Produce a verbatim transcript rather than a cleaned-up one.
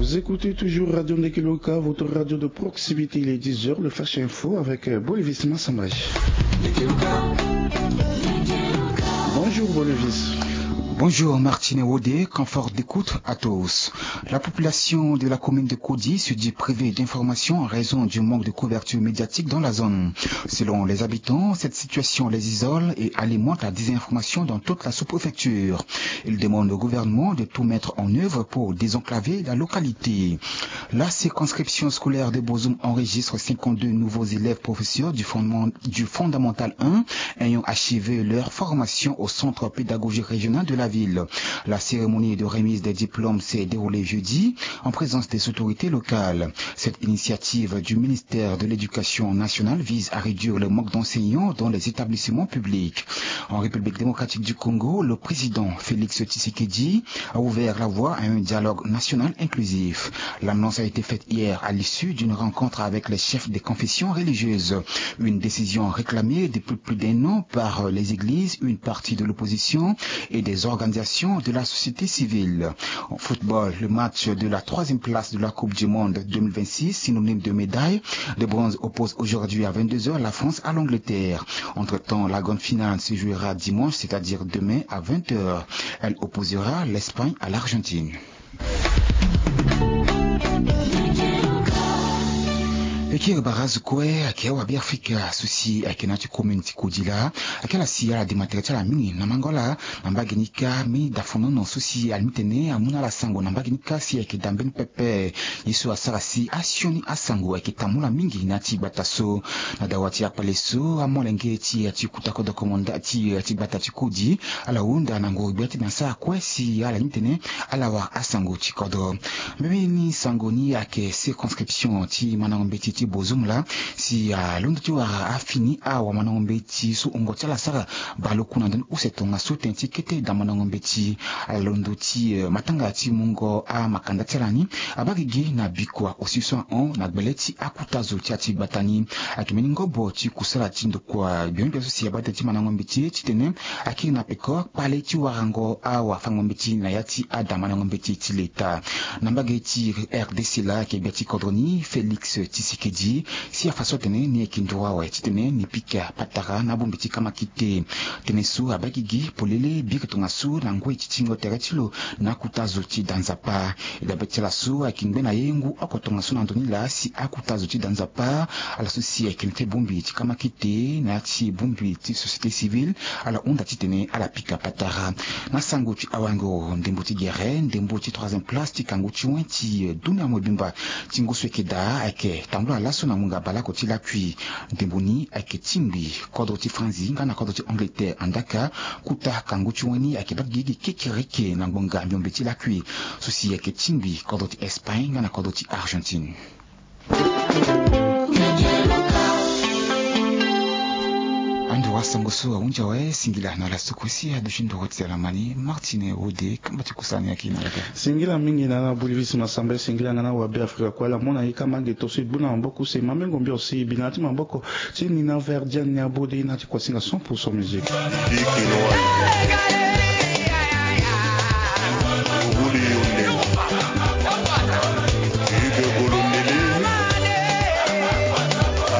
Vous écoutez toujours Radio Ndekeloka, votre radio de proximité. Il est dix heures, le Flash Info avec euh, Bolivis Massamba. Bonjour Bolivis. Bonjour Martine Wodé, confort d'écoute à tous. La population de la commune de Kodi se dit privée d'informations en raison du manque de couverture médiatique dans la zone. Selon les habitants, cette situation les isole et alimente la désinformation dans toute la sous-préfecture. Ils demandent au gouvernement de tout mettre en œuvre pour désenclaver la localité. La circonscription scolaire de Bozoum enregistre cinquante-deux nouveaux élèves professeurs du fondement- du fondamental un ayant achevé leur formation au centre pédagogique régional de la ville. La cérémonie de remise des diplômes s'est déroulée jeudi en présence des autorités locales. Cette initiative du ministère de l'Éducation nationale vise à réduire le manque d'enseignants dans les établissements publics. En République démocratique du Congo, le président Félix Tshisekedi a ouvert la voie à un dialogue national inclusif. L'annonce a été faite hier à l'issue d'une rencontre avec les chefs des confessions religieuses. Une décision réclamée depuis plus d'un an par les églises, une partie de l'opposition et des organisations de la société civile. En football, le match de la troisième place de la Coupe du Monde deux mille vingt-six, synonyme de médaille de bronze, oppose aujourd'hui à vingt-deux heures la France à l'Angleterre. Entre-temps, la grande finale se jouera dimanche, c'est-à-dire demain à vingt heures. Elle opposera l'Espagne à l'Argentine. E kiri barazu kue ayeke awabe Afrika so si ayeke na ya ti commune ti Kodila. Ayeke ala si ala dema tere ti ala mingi na mango ala na mbage ni kâ. Mbi dafonono so si ala mbi tene amu na ala sango na mbage ni kâ si ayeke da mbeni pepe. Ye so asara si asioni asango ayeke tambula mingi na ya ti gbata so. Na dawa ti akpale so amolenge ti ya ti kota kodro komanda ti ya ti gbata ti Kodi ala hunda na nguru gbia ti dan sara kue si ala ni tene ala wara asango ti kodro. Mbeni sango ni ayeke circonscription ti mandango mbeti ti Bozoum laa si alondo ti wara afini awamandango mbeti so wungo ti ala asara baleoku na ndoni use tongaso tënë ti kete damandango mbeti. Ala londo ti matanga ti mungo amakanda ti ala ni abaa gigi na bikua aussi so ahon na gbele ti akuta zo ti ya ti gbata ni. Ayeke mbeni ngobo ti kusala ti ndokua gbia gbia so si abaa tënë ti mandango mbeti titene akiri na peko kpale ti warango awafango mbeti na ya ti adamandango mbeti ti leta. Na mbage ti R D C laa ayeke gbia ti kodro ni Félix Tshisekedi si afa so atene ni ayeke nduru awe titene ni pika patara na abongbi ti kamakite. Tënë so abaa gigi polele biri tongaso na ngoi ti tingo tere ti lo na akuta zo ti da nzapa. E dabe ti ala so ayeke ngbe na ye ngu oko tongaso na ndo ni laa si akuta zo ti da nzapa ala so si ayeke na ti bongbi ti kamakite na ya ti bongbi ti société civile ala hunda titene ala pika patara. Na sango ti awango ndembo ti gere ndembo ti troisième place ti kangu ti wen ti dunia mobimba ti ngu so ayeke daa ayeke tambula laso na ngonga baleoko ti lakui. Ndembo ni ayeke tingbi kodro ti Franzi nga na kodro ti Angleterre andaka kuta kangu ti wen ni ayeke baa gigi kekereke na ngbonga miombe ti lakui so si ayeke tingbi kodro ti Espagne nga na kodro ti Argentine. Ando wasango so ahunzi awe singila na ala so kue si aduti ndoro ti ala ma ni Martine Wode kamba ti kusala ni ayeke na ala kâ. Singila mingi na ala Bolivis Massamba singila nga na wabe Afrika kue ala mu na ye kamba ngeto so e gbu na maboko use mamengo mbi aussi e bi na ala ti maboko ti Nina Verdiane ni abode ye na ala ti kuasinga cent pour cent musique.